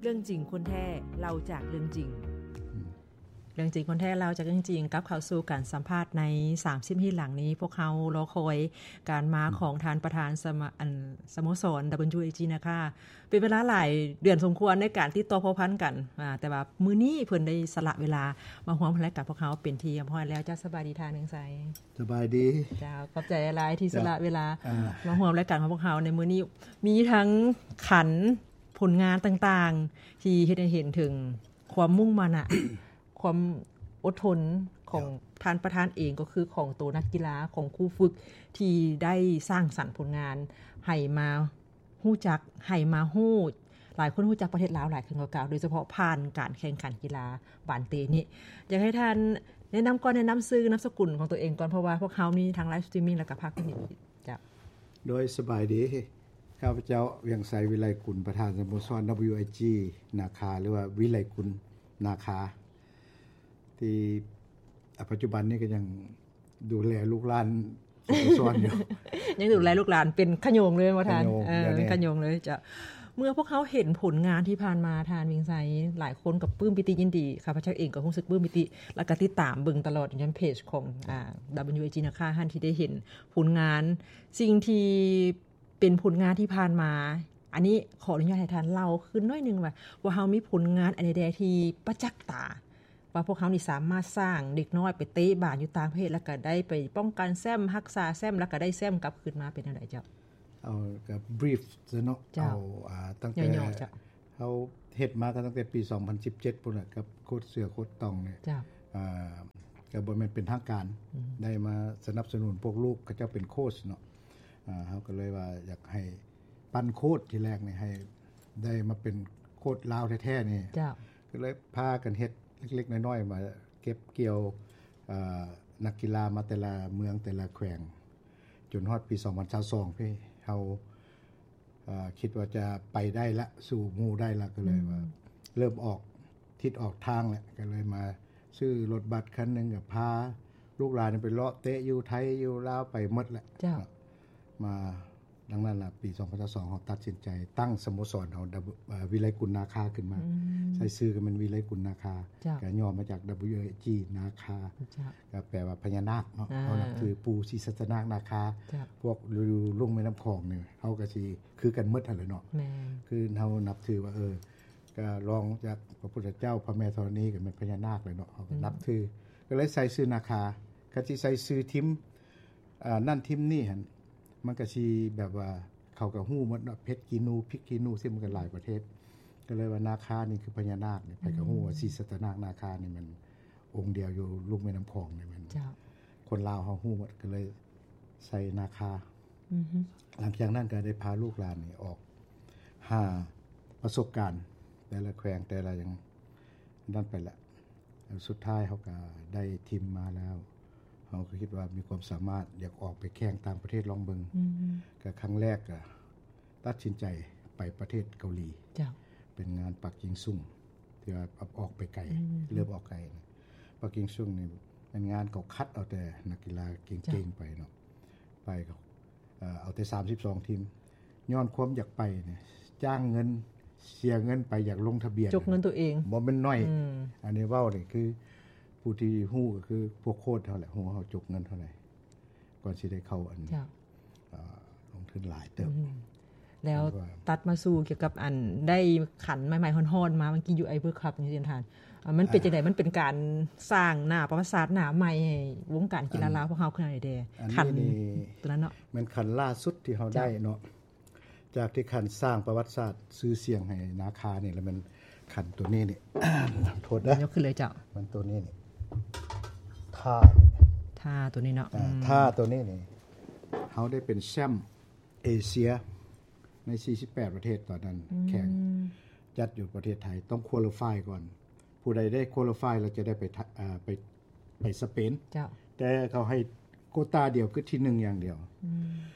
ເລື່ອງຈິງຄົນແທ້ ເລົ່າຈາກເລື່ອງຈິງ. ເລື່ອງຈິງຄົນແທ້ ເລົ່າຈາກເລື່ອງຈິງ. ກັບເຂົ້າສູ່ການສຳພາດໃນສາມສິບນາທີຫຼັງນີ້, ພວກເຮົາລໍຄອຍການມາຂອງທ່ານປະທານສະມາ ອັນ ສະໂມສອນ WIG ນາຄາ ເປັນເວລາຫຼາຍເດືອນສົມຄວນໃນການຕິດຕໍ່ພົວພັນກັນ, ອາ ແຕ່ວ່າມື້ນີ້ເພິ່ນໄດ້ສະຫຼະເວລາມາຮ່ວມລາຍການພວກເຮົາເປັນທີ່ຮຽບຮ້ອຍແລ້ວ. ເຈົ້າ ສະບາຍດີທ່ານ ເຮືອງໄຊ. ສະບາຍດີ. ເຈົ້າ ຂອບໃຈຫຼາຍທີ່ສະຫຼະເວລາ ເຈົ້າ ມາຮ່ວມລາຍການຂອງພວກເຮົາໃນມື້ນີ້. ມີທັງຂັນ ຜົນງານຕ່າງໆ ທີ່ເຮັດໃຫ້ເຫັນເຖິງຄວາມມຸ່ງມານະ ຄວາມອົດທົນຂອງ ເຈົ້າ ທ່ານປະທານເອງ, ກໍຄືຂອງໂຕນັກກິລາ, ຂອງຄູຝຶກ ທີ່ໄດ້ສ້າງສັນຜົນງານໃຫ້ມາ ຮູ້ຈັກ ໃຫ້ມາຮູ້ ຫຼາຍຄົນຮູ້ຈັກປະເທດລາວຫຼາຍຂຶ້ນກວ່າເກົ່າ, ໂດຍສະເພາະຜ່ານການແຂ່ງຂັນກິລາບານເຕນີ້. ຢາກໃຫ້ທ່ານແນະນຳກ່ອນ, ແນະນຳຊື່ນາມສະກຸນຂອງຕົວເອງກ່ອນ, ເພາະວ່າພວກເຮົາມີທັງໄລຟ໌ສະຕຣີມມິງ ແລ້ວກໍພາກພື້ນທີ່ຈະ ໂດຍສະບາຍດີ, ຂ້າພະເຈົ້າ ວຽງໄຊ ວິໄລກຸນ ປະທານສະໂມສອນ WIG ນາຄາ ຫຼືວ່າ ວິໄລກຸນ ນາຄາ ທີ່ ອາ ປັດຈຸບັນນີ້ກໍຍັງ ດູແລລູກຫຼານສະໂມສອນຢູ່. ຍັງດູແລລູກຫຼານເປັນຂະໂຍງເລີຍບໍ່ທ່ານ? ຂະໂຍງ ເອີ ເປັນຂະໂຍງເລີຍ. ເຈົ້າ ເມື່ອພວກເຮົາເຫັນຜົນງານທີ່ຜ່ານມາທ່ານ ວຽງໄຊ, ຫຼາຍຄົນກໍປຶ້ມປີຕິຍິນດີ, ຂ້າພະເຈົ້າເອງກໍຮູ້ສຶກປຶ້ມປີຕິ ແລ້ວກໍຕິດຕາມເບິ່ງຕະຫຼອດຢູ່ໃນເພຈຂອງ ອາ WIG ນາຄາຫັ້ນ ທີ່ໄດ້ເຫັນຜົນງານ, ສິ່ງທີ່ເປັນຜົນງານທີ່ຜ່ານມາ. ອັນນີ້ຂໍອະນຸຍາດໃຫ້ທ່ານເລົ່າຄືນໜ້ອຍໜຶ່ງວ່າ ພວກເຮົາມີຜົນງານອັນໃດແດ່ທີ່ປະຈັກຕາ ວ່າພວກເຮົານີ້ສາມາດສ້າງເດັກນ້ອຍໄປເຕະບານຢູ່ຕ່າງປະເທດ ແລ້ວກໍໄດ້ໄປປ້ອງກັນແຊ້ມ, ຮັກສາແຊ້ມ ແລ້ວກໍໄດ້ແຊ້ມກັບຄືນມາ ເປັນແນວໃດເຈົ້າ? ເອົາ ກໍບຣີຟຊະເນາະ. ເຈົ້າ ເອົາ ອາ ຕັ້ງແຕ່ ຫຍໍ້ໆ ເຈົ້າ ເຮົາເຮັດມາກໍຕັ້ງແຕ່ປີສອງພັນສິບເຈັດພຸ້ນແຫຼະ ກັບໂຄດເສືອໂຄດຕ່ອງນີ້. ເຈົ້າ ອາ ກໍບໍ່ແມ່ນເປັນທາງການ ອືມ ໄດ້ມາສະໜັບສະໜູນພວກລູກເຂົາເຈົ້າເປັນໂຄດເນາະ. ອາ ເຮົາກໍເລີຍວ່າຢາກໃຫ້ ປັນໂຄດທີແລກນີ້ໃຫ້ໄດ້ມາເປັນໂຄດລາວແທ້ໆນີ້. ເຈົ້າ ກໍເລີຍພາກັນເຮັດເລັກໆນ້ອຍໆ ມາເກັບກ່ຽວ ເອີ ນັກກິລາມາແຕ່ລະເມືອງແຕ່ລະແຂວງ ຈົນຮອດປີສອງພັນຊາວສອງພີ້ ເຮົາ ເອີ ຄິດວ່າຈະໄປໄດ້ລະ ສູ້ໝູ່ໄດ້ລະ ກໍເລີຍວ່າ ອືມ ເລີ່ມອອກທິດອອກທາງແລ້ວ ກໍເລີຍມາຊື້ລົດບັສຄັນໜຶ່ງ ກໍພາລູກຫຼານໄປເລາະເຕະຢູ່ໄທຢູ່ລາວໄປໝົດແຫຼະ. ເຈົ້າ ມາ ດັ່ງນັ້ນລະ ປີສອງພັນຊາວສອງ ເຮົາຕັດສິນໃຈຕັ້ງສະໂມສອນເຮົາ ເອີ ວິໄລກຸນນາຄາຂຶ້ນມາ. ອືມ ໃຊ້ຊື່ກໍແມ່ນວິໄລກຸນນາຄາ. ເຈົ້າ ກໍຫຍໍ້ມາຈາກ WIG ນາຄາ. ເຈົ້າ ກໍແປວ່າພະຍານາກເນາະ. ອ່າ ເຮົານັບຖືປູ່ສີສັດຕະນາກນາຄາ. ເຈົ້າ ພວກຢູ່ລຸ່ມແມ່ນ້ຳຂອງນີ້ ເຮົາກໍຊິຄືກັນໝົດຫັ້ນແຫຼະເນາະ. ແມ່ນ ຄືເຮົານັບຖືວ່າ ເອີ ກໍລອງຈາກພະພຸດທະເຈົ້າ ພະແມ່ທໍລະນີ ກໍແມ່ນພະຍານາກແຫຼະເນາະ. ເຮົາກໍ ອືມ ນັບຖື ກໍເລີຍໃສ່ຊື່ນາຄາ. ຄັນຊິໃສ່ຊື່ທີມ ອ່າ ນັ້ນທີມນີ້ຫັ້ນ ມັນກໍຊິແບບວ່າເຂົາກໍຮູ້ໝົດເນາະ ເຜັດຂີ້ໜູ ພິກຂີ້ໜູ ຊິມັນກໍຫຼາຍປະເທດ ກໍເລີຍວ່ານາຄານີ້ຄືພະຍານາກນີ້ ໃຜກໍຮູ້ວ່າ ອືມ ສີສັດຕະນາກນາຄານີ້ແມ່ນອົງດຽວຢູ່ລຸ່ມແມ່ນ້ຳຂອງນີ້ແມ່ນ. ເຈົ້າ ຄົນລາວເຮົາຮູ້ໝົດ ກໍເລີຍໃສ່ນາຄາ. ອືຮຶ ຫຼັງຈາກນັ້ນກໍໄດ້ພາລູກຫຼານນີ້ອອກຫາປະສົບການ ແຕ່ລະແຂວງ ແຕ່ລະຫຍັງນັ້ນໄປແຫຼະ. ແລ້ວສຸດທ້າຍເຮົາກໍໄດ້ທີມມາແລ້ວ ເຮົາກໍຄິດວ່າມີຄວາມສາມາດ ຢາກອອກໄປແຂ່ງຕ່າງປະເທດລອງເບິ່ງ. ອືມ ກໍຄັ້ງແລກກໍຕັດສິນໃຈໄປປະເທດເກົາຫຼີ. ເຈົ້າ ເປັນງານປັກກິ່ງຊຸງ ທີ່ວ່າອອກໄປໄກ. ອືມ ເລີ່ມອອກໄກ ປັກກິ່ງຊຸງນີ້ແມ່ນງານເຂົາຄັດເອົາແຕ່ນັກກິລາເກັ່ງໆ ເຈົ້າ ໄປເນາະ ໄປກໍ ເອີ ເອົາແຕ່ສາມສິບສອງທີມ ຍ້ອນຄວາມຢາກໄປນີ້ ຈ້າງເງິນ ເສຍເງິນໄປ ຢາກລົງທະບຽນ ຈົກເງິນຕົວເອງ ບໍ່ແມ່ນໜ້ອຍ. ອືມ ອັນນີ້ເວົ້ານີ້ຄື ຜູ້ທີ່ຮູ້ກໍຄືພວກໂຄດເຮົາແຫຼະ ຮູ້ເຮົາຈົກເງິນເທົ່າໃດ ກ່ອນຊິໄດ້ເຂົ້າອັນ ເຈົ້າ ເອີ ລົງທຶນຫຼາຍເຕີບ. ອືມ ແລ້ວຕັດມາສູ່ກ່ຽວກັບອັນໄດ້ຂັນໃໝ່ໆຮ້ອນໆມາ ມັນກິນຢູ່ໄອເວີຄັບນີ້ທ່ານ ອາ ມັນເປັນ ອ່າ ຈັ່ງໃດ? ມັນເປັນການສ້າງໜ້າປະຫວັດສາດໜ້າໃໝ່ໃຫ້ວົງການກິລາລາວພວກເຮົາຄືໃດແດ່? ອັນນີ້ ຂັນ ນີ້ ຕົວນັ້ນເນາະ ແມ່ນຂັນລ່າສຸດທີ່ເຮົາ ເຈົ້າ ໄດ້ເນາະ ຈາກທີ່ຂັນສ້າງປະຫວັດສາດຊື່ສຽງໃຫ້ນາຄານີ້ ແລ້ວແມ່ນຂັນຕົວນີ້ນີ້ ໂທດເດີ ຍົກຂຶ້ນເລີຍເຈົ້າ ມັນຕົວນີ້ນີ້ ທ່າ ທ່າຕົວນີ້ເນາະ ອືມ ທ່າຕົວນີ້ນີ້ ເຮົາໄດ້ເປັນແຊ້ມເອເຊຍ ໃນສີ່ສິບແປດປະເທດຕອນນັ້ນ ອືມ ແຂ່ງຈັດຢູ່ປະເທດໄທ ຕ້ອງຄວໍລິຟາຍກ່ອນ ຜູ້ໃດໄດ້ຄວໍລິຟາຍແລ້ວຈະໄດ້ໄປ ເອີ ໄປ ໄປສະເປນ. ເຈົ້າ ແຕ່ເຂົາໃຫ້ໂກຕາດຽວ ຄືທີໜຶ່ງຢ່າງດຽວ. ອືມ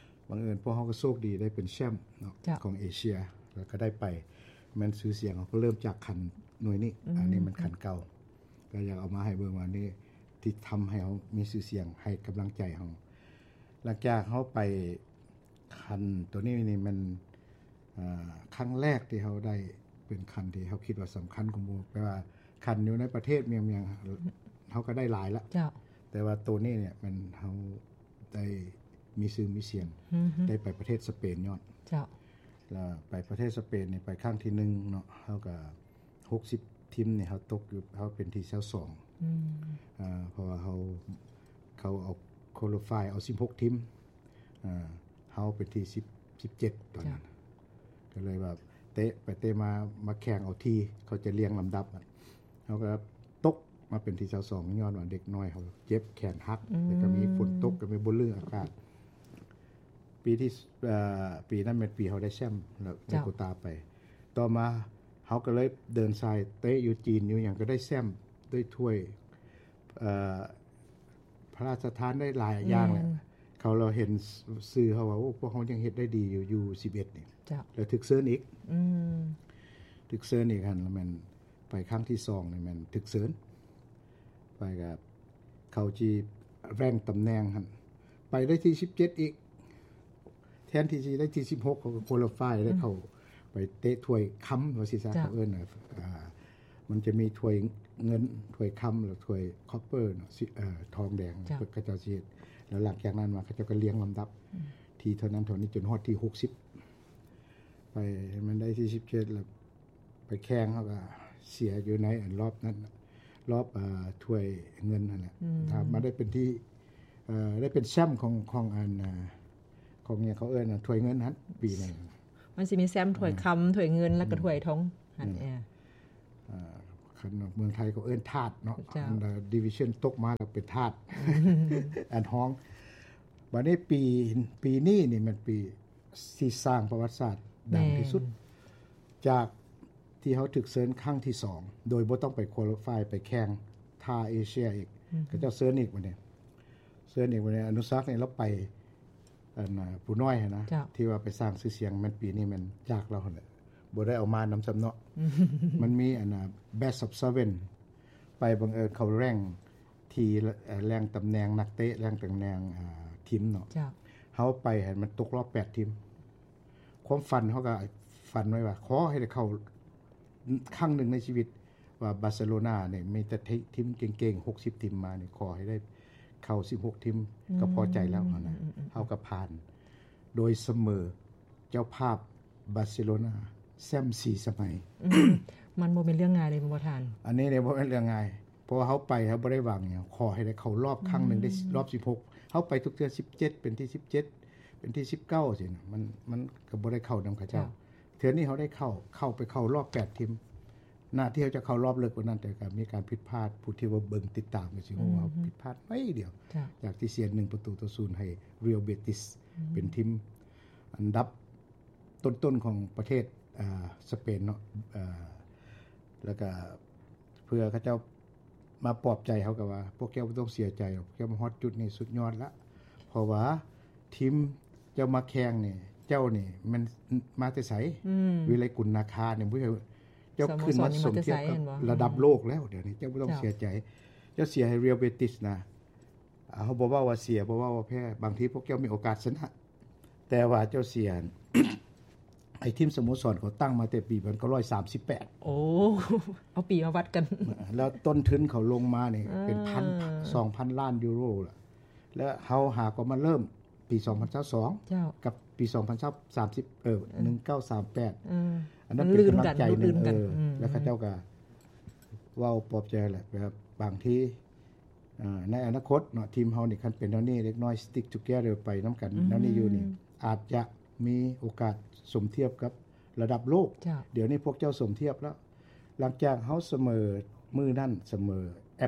ບັງເອີນພວກເຮົາກໍໂຊກດີໄດ້ເປັນແຊ້ມເນາະ ເຈົ້າ ຂອງເອເຊຍ ແລ້ວກໍໄດ້ໄປ ແມ່ນຊື່ສຽງເຮົາກໍເລີ່ມຈາກຂັນໜ່ວຍນີ້. ອືມ ອັນນີ້ມັນຂັນເກົ່າ ກໍຢາກເອົາມາໃຫ້ເບິ່ງວ່ານີ້ທີ່ທຳໃຫ້ເຮົາມີຊື່ສຽງ ໃຫ້ກຳລັງໃຈເຮົາ. ຫຼັງຈາກເຮົາໄປ ຄັນໂຕນີ້ນີ້ແມ່ນ ເອີ ຄັ້ງແລກທີ່ເຮົາໄດ້ ເປັນຂັນທີ່ເຮົາຄິດວ່າສຳຄັນກວ່າໝູ່ ແປວ່າຂັນຢູ່ໃນປະເທດໝ່ຽງໆ ເຮົາກໍໄດ້ຫຼາຍລະ ເຈົ້າ ແຕ່ວ່າໂຕນີ້ເນຍ ແມ່ນເຮົາໄດ້ມີຊື່ມີສຽງ ອືຮຶ ໄດ້ໄປປະເທດສະເປນຍ້ອນ ເຈົ້າ ແລ້ວໄປປະເທດສະເປນນີ້ ໄປຄັ້ງທີໜຶ່ງເນາະ ເຮົາກໍຫົກສິບທີມນີ້ ເຮົາຕົກຢູ່ ເຮົາເປັນທີຊາວສອງ ອືມ ເພາະວ່າເຮົາ ເຂົາເອົາ qualify ເອົາສິບຫົກທີມ ເຮົາເປັນທີສິບ ສິບເຈັດຕອນນັ້ນ ເຈົ້າ ກໍເລີຍວ່າເຕະໄປເຕະມາ ມາແຂ່ງເອົາທີ ເຂົາຈະລຽງລຳດັບ ເຮົາກໍຕົກມາເປັນທີຊາວສອງ ຍ້ອນວ່າເດັກນ້ອຍເຮົາເຈັບແຂນຫັກ ອືມ ແລ້ວກໍມີຝົນຕົກ ກໍມີບໍ່ລື່ອາກາດ ປີທີ່ ເອີ ປີນັ້ນແມ່ນປີເຮົາໄດ້ແຊ້ມ ແລ້ວໄດ້ ເຈົ້າ ໂຄຕາໄປ ຕໍ່ມາເຮົາກໍເລີຍເດີນສາຍເຕະຢູ່ຈີນຢູ່ຫຍັງ ກໍໄດ້ແຊ້ມ ໄດ້ຖ້ວຍ ເອີ ພະລາຊະທານໄດ້ຫຼາຍຢ່າງແຫຼະ ແມ່ນ ເຂົາລາວເຫັນຊື່ເຮົາວ່າ ໂອ້ ພວກເຮົາຍັງເຮັດໄດ້ດີຢູ່ ຢູສິບເອັດນີ້ ເຈົ້າ ແລ້ວຖືກເຊີນອີກ ອືມ ຖືກເຊີນອີກຫັ້ນ ແລ້ວແມ່ນໄປຄັ້ງທີສອງນີ້ແມ່ນຖືກເຊີນ ໄປກັບເຂົາຈີ rank ຕຳແໜ່ງຫັ້ນ ໄປໄດ້ທີສິບເຈັດອີກ ແທນທີ່ຊິໄດ້ທີສິບຫົກ ເຂົາກໍ qualify ໄດ້ເຂົ້າ ອືມ ໄປເຕະຖ້ວຍຄຳ ວ່າຊິຊະ ເຈົ້າ ເຂົາເອີ້ນ ອ່າ ມັນຈະມີຖ້ວຍເງິນ ຖ້ວຍຄຳ ແລ້ວຖ້ວຍ copper ເນາະ ຊິ ເອີ ທອງແດງ ເຈົ້າ ເຂົາເຈົ້າຊິເຮັດ ແລ້ວຫຼັງຈາກນັ້ນມາ ເຂົາເຈົ້າກໍລຽງລຳດັບ ອືມ ທີເທົ່ານັ້ນເທົ່ານີ້ ຈົນຮອດທີຫົກສິບ ໄປ ມັນໄດ້ທີສິບເຈັດ ແລ້ວໄປແຂ່ງ ເຮົາກໍເສຍຢູ່ໃນອັນລອບນັ້ນ ລອບ ເອີ ຖ້ວຍເງິນຫັ້ນແຫຼະ ອືມ ຖ້າມາໄດ້ເປັນທີ ເອີ ໄດ້ເປັນແຊ້ມຂອງ ຂອງອັນ ເອີ ຂອງຫຍັງເຂົາເອີ້ນ ຖ້ວຍເງິນຫັ້ນ ປີໜຶ່ງ ມັນຊິມີແຊ້ມຖ້ວຍຄຳ ອືມ ຖ້ວຍເງິນ ແລ້ວກໍ ອືມ ຖ້ວຍທອງຫັ້ນ ອືມ ເອີ ເອີ ຄັນເມືອງໄທເຂົາເອີ້ນຖາດເນາະ ເຈົ້າ ອັນ division ຕົກມາແລ້ວເປັນຖາດ ອັນຮອງ ບັດນີ້ປີ ປີນີ້ນີ້ແມ່ນປີທີ່ສ້າງປະຫວັດສາດດັງທີ່ສຸດ ແມ່ນ ຈາກທີ່ເຮົາຖືກເຊີນຄັ້ງທີສອງ ໂດຍບໍ່ຕ້ອງໄປ qualify ໄປແຂ່ງທ່າເອເຊຍອີກ ອືມ ເຂົາເຈົ້າເຊີນອີກບັດນີ້ ເຊີນອີກບັດນີ້ ອະນຸສັກນີ້ລາວໄປ ອັນ ຜູ້ນ້ອຍຫັ້ນນະ ເຈົ້າ ທີ່ວ່າໄປສ້າງຊື່ສຽງ ແມ່ນປີນີ້ແມ່ນຈາກລາວຫັ້ນແຫຼະ ບໍ່ໄດ້ເອົາມານຳຊ້ຳເນາະ ອືມ ມັນມີອັນ best of seven ໄປ ບັງເອີນເຂົາ rank ທີ່ rank ຕຳແໜ່ງນັກເຕະ rank ຕຳແໜ່ງ ອ່າ ທີມເນາະ ເຈົ້າ ເຮົາໄປຫັ້ນມັນຕົກລອບແປດທີມ ຄວາມຝັນເຮົາກໍຝັນໄວ້ວ່າ ຂໍໃຫ້ໄດ້ເຂົ້າຄັ້ງໜຶ່ງໃນຊີວິດ ວ່າບາເຊໂລນານີ້ມີແຕ່ທີມເກັ່ງໆ ຫົກສິບທີມມານີ້ ຂໍໃຫ້ໄດ້ເຂົ້າສິບຫົກທີມ ອືມ ກໍພໍໃຈແລ້ວຫັ້ນນະ ອືມໆໆໆ ເຮົາກໍຜ່ານ ໂດຍສະເໝີເຈົ້າພາບບາເຊໂລນາ ແຊ້ມສີ່ສະໄໝ ອືມ ມັນບໍ່ແມ່ນເລື່ອງງ່າຍເດ້ ແມ່ນບໍ່ທ່ານ? ອັນນີ້ນີ້ບໍ່ແມ່ນເລື່ອງງ່າຍ ເພາະວ່າເຮົາໄປ ເຮົາບໍ່ໄດ້ຫວັງຫຍັງ ຂໍໃຫ້ໄດ້ເຂົ້າລອບຄັ້ງໜຶ່ງ ອືມ ໄດ້ລອບສິບຫົກ ເຮົາໄປທຸກເທື່ອສິບເຈັດ ເປັນທີສິບເຈັດ ເປັນທີສິບເກົ້າ ຊີ້ນະ ມັນ ມັນກໍບໍ່ໄດ້ເຂົ້ານຳເຂົາເຈົ້າ ເຈົ້າ ເທື່ອນີ້ເຮົາໄດ້ເຂົ້າ ເຂົ້າໄປເຂົ້າລອບແປດທີມ ໜ້າທີ່ເຮົາຈະເຂົ້າລອບເລິກກວ່ານັ້ນ ແຕ່ກໍມີການຜິດພາດ ຜູ້ທີ່ວ່າເບິ່ງຕິດຕາມກໍຊິຮູ້ວ່າ ອືມ ເຮົາຜິດພາດໜ້ອຍດຽວ ເຈົ້າ ຈາກທີ່ເສຍໜຶ່ງປະຕູຕໍ່ສູນໃຫ້ Real Betis ອືມ ເປັນທີມອັນດັບຕົ້ນໆຂອງປະເທດ ອ່າ ສະເປນເນາະ ອ່າ ແລ້ວກໍເພື່ອເຂົາເຈົ້າ ມາປອບໃຈເຮົາກໍວ່າ ພວກເຈົ້າບໍ່ຕ້ອງເສຍໃຈດອກ ພວກເຈົ້າມາຮອດຈຸດນີ້ສຸດຍອດລະ ເພາະວ່າທີມເຈົ້າມາແຂ່ງນີ້ ເຈົ້ານີ້ແມ່ນມາແຕ່ໃສ? ອືມ ວິໄລກຸນນາຄານີ້ ເຈົ້າຂຶ້ນມາສົມທຽບກັບລະດັບໂລກແລ້ວ ດຽວນີ້ເຈົ້າບໍ່ຕ້ອງເສຍໃຈ ເຈົ້າເສຍໃຫ້ Real Betis ນະ ເຮົາບໍ່ເວົ້າວ່າເສຍ ບໍ່ເວົ້າວ່າແພ້ ບາງທີພວກເຈົ້າມີໂອກາດຊະນະ ແຕ່ວ່າເຈົ້າເສຍ ໄອ້ທີມສະໂມສອນເຂົາຕັ້ງມາແຕ່ປີໜຶ່ງເກົ້າຮ້ອຍສາມສິບແປດ ໂອ້ ເອົາປີມາວັດກັນ ແລ້ວຕົ້ນທຶນເຂົາລົງມານີ້ ເອີ ເປັນພັນ ສອງພັນລ້ານຢູໂຣລະ ແລ້ວເຮົາຫາກໍມາເລີ່ມປີສອງພັນຊາວສອງ ເຈົ້າ ກັບປີສອງພັນຊາວ ສາມສິບ ເອີ ເອີ ໜຶ່ງເກົ້າສາມແປດ ເອີ ອັນນັ້ນເປັນກຳລັງໃຈໜຶ່ງ ເອີ ອືມ ແລ້ວເຂົາເຈົ້າກໍເວົ້າປອບໃຈແຫຼະ ແບບບາງທີ ອ່າ ໃນອະນາຄົດເນາະ ທີມເຮົານີ້ຄັນເປັນແນວນີ້ ເດັກນ້ອຍ stick together ໄປນຳກັນ ອືມ ແນວນີ້ຢູ່ນີ້ ອາດຈະມີໂອກາດສົມທຽບກັບລະດັບໂລກ ເຈົ້າ ດຽວນີ້ພວກເຈົ້າສົມທຽບແລ້ວ ຫຼັງຈາກເຮົາສະເໝີມື້ນັ້ນ ສະເໝີ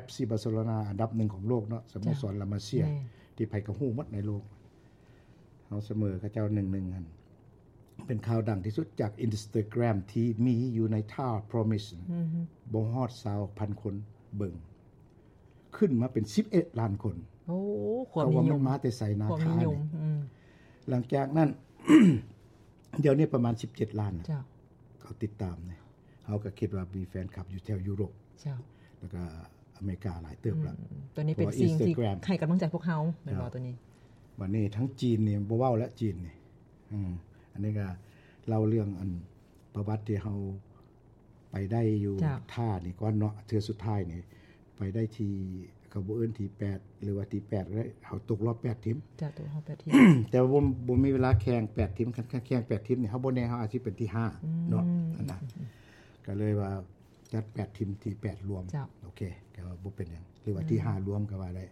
FC Barcelona ອັນດັບໜຶ່ງຂອງໂລກເນາະ ສະໂມສອນ ເອີ ລາມາເຊຍ ແມ່ນ ທີ່ໃຜກໍຮູ້ໝົດໃນໂລກ ເຮົາສະເໝີເຂົາເຈົ້າ ໜຶ່ງໜຶ່ງ ຫັ້ນ ເປັນຂ່າວດັງທີ່ສຸດຈາກ Instagram ທີ່ມີຢູ່ໃນທ່າ Promise ອືຮຶ ບໍ່ຮອດຊາວພັນຄົນເບິ່ງ ຂຶ້ນມາເປັນສິບເອັດລ້ານຄົນ ໂອ້ ຄວາມນິຍົມ ເພາະວ່າມັນມາແຕ່ໃສ ນາຄານີ້ ອືມ ຫຼັງຈາກນັ້ນ ດຽວນີ້ປະມານສິບເຈັດລ້ານ ເຈົ້າ ເຂົາຕິດຕາມນີ້ ເຮົາກໍຄິດວ່າມີແຟນຄລັບຢູ່ແຖວຢູໂຣບ ເຈົ້າ ແລ້ວກໍອາເມລິກາຫຼາຍເຕີບລະ ອືມ ຕົວນີ້ເປັນສິ່ງທີ່ໃຫ້ກຳລັງໃຈພວກເຮົາ ແມ່ນບໍ່ ຕົວນີ້ ບັດນີ້ທັງຈີນນີ້ບໍ່ເວົ້າແລ້ວ ຈີນນີ້ ອືມ ອັນນີ້ກໍເລົ່າເລື່ອງອັນປະຫວັດທີ່ເຮົາ ໄປໄດ້ຢູ່ ເຈົ້າ ທ່ານີ້ກ່ອນເນາະ ເທື່ອສຸດທ້າຍນີ້ໄປໄດ້ທີ່ ເຂົາບໍ່ເອີ້ນທີແປດ ຫຼືວ່າທີແປດກໍໄດ້ ເຮົາຕົກຮອບແປດທີມ ເຈົ້າ ຕົກຮອບແປດທີມ ແຕ່ວ່າບໍ່ ບໍ່ມີເວລາແຂ່ງແປດທີມ ຄັນ ຄັນແຂ່ງແປດທີມນີ້ ເຮົາບໍ່ແນ່ ເຮົາອາດຊິເປັນທີຫ້າເນາະ ອືມ ອັນນັ້ນ ກໍເລີຍວ່າຈັດແປດທີມ ທີແປດລວມ ເຈົ້າ ໂອເຄ ກໍບໍ່ເປັນຫຍັງ ຫຼືວ່າທີຫ້າລວມກໍວ່າໄດ້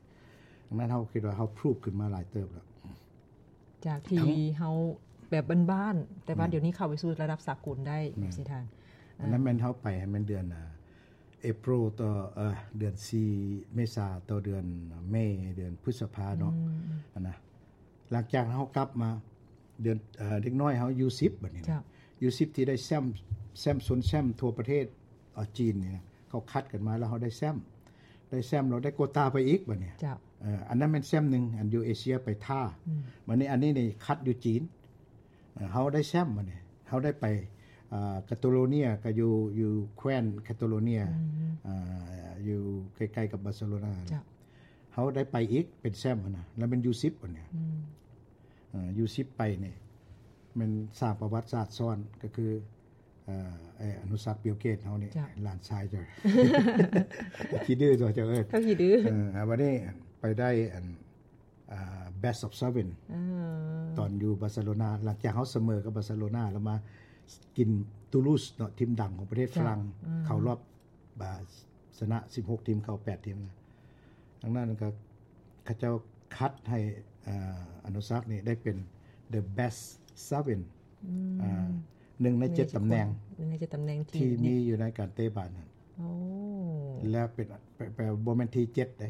ດັ່ງນັ້ນເຮົາຄິດວ່າເຮົາພຣູຟຂຶ້ນມາຫຼາຍເຕີບແລ້ວ ຈາກທີ່ເຮົາແບບບ້ານໆ ແຕ່ວ່າດຽວນີ້ເຂົ້າໄປສູ່ລະດັບສາກົນໄດ້ ແມ່ນ ຊິທ່ານ ອັນນັ້ນແມ່ນເຮົາໄປໃຫ້ແມ່ນເດືອນ ອ່າ April ຕໍ່ ເອີ ເດືອນສີ່ ເມສາ ຕໍ່ເດືອນເມ ເດືອນພຶດສະພາເນາະ ອືມ ອັນນະ ຫຼັງຈາກເຮົາກັບມາ ເດືອນ ເອີ ເດັກນ້ອຍເຮົາ ຢູສິບ ບັດນີ້ນະ ເຈົ້າ ຢູສິບ ທີ່ໄດ້ແຊ້ມ ແຊ້ມຊົນແຊ້ມທົ່ວປະເທດ ເອີ ຈີນນີ້ນະ ເຂົາຄັດກັນມາແລ້ວເຮົາໄດ້ແຊ້ມ ໄດ້ແຊ້ມ ເຮົາໄດ້ໂກຕາໄປອີກບັດນີ້ ເຈົ້າ ເອີ ອັນນັ້ນແມ່ນແຊ້ມໜຶ່ງ ອັນຢູ່ເອເຊຍໄປທ່າ ອືມ ບັດນີ້ອັນນີ້ນີ້ຄັດຢູ່ຈີນ ເອີ ເຮົາໄດ້ແຊ້ມບັດນີ້ ເຮົາໄດ້ໄປ ເອີ ກາໂຕໂລເນຍ ກໍຢູ່ ຢູ່ແຄວ້ນກາໂຕໂລເນຍ ອືມ ເອີ ຢູ່ໃກ້ໆກັບບາເຊໂລນາ ເຈົ້າ ເຮົາໄດ້ໄປອີກເປັນແຊ້ມຫັ້ນນະ ແລ້ວແມ່ນຢູສິບອັນນີ້ ອືມ ເອີ ຢູສິບໄປນີ້ແມ່ນສ້າງປະຫວັດສາດຊ້ອນ ກໍຄື ເອີ ໄອ້ອະນຸສັກ ບິວເກດເຮົານີ້ ເຈົ້າ ຫຼານຊາຍເຈົ້າ ຂີ້ດື້ຕົວະເຈົ້າເອີຍ ເຂົາຂີ້ດື້ ເອີ ເອົາບັດນີ້ໄປໄດ້ອັນ ອ່າ Best of Seven ເອີ ຕອນຢູ່ບາເຊໂລນາ ຫຼັງຈາກເຮົາສະເໝີກັບບາເຊໂລນາ ແລ້ວມາກິນຕູລູສເນາະ ທີມດັງຂອງປະເທດຝຣັ່ງ ເຈົ້າ ອືມ ເຂົ້າຮອບ ບາ ຊະນະສິບຫົກທີມ ເຂົ້າແປດທີມນະ ດັ່ງນັ້ນກໍເຂົາເຈົ້າຄັດໃຫ້ ເອີ ອະນຸສັກນີ້ໄດ້ເປັນ The Best Seven ອືມ ອ່າ ໜຶ່ງໃນເຈັດຕຳແໜ່ງ ໜຶ່ງໃນເຈັດຕຳແໜ່ງທີ່ ທີ່ມີຢູ່ໃນການເຕະບານນັ້ນ ໂອ້ ແລ້ວເປັນ ແປ ແປ ບໍ່ແມ່ນທີເຈັດເດ້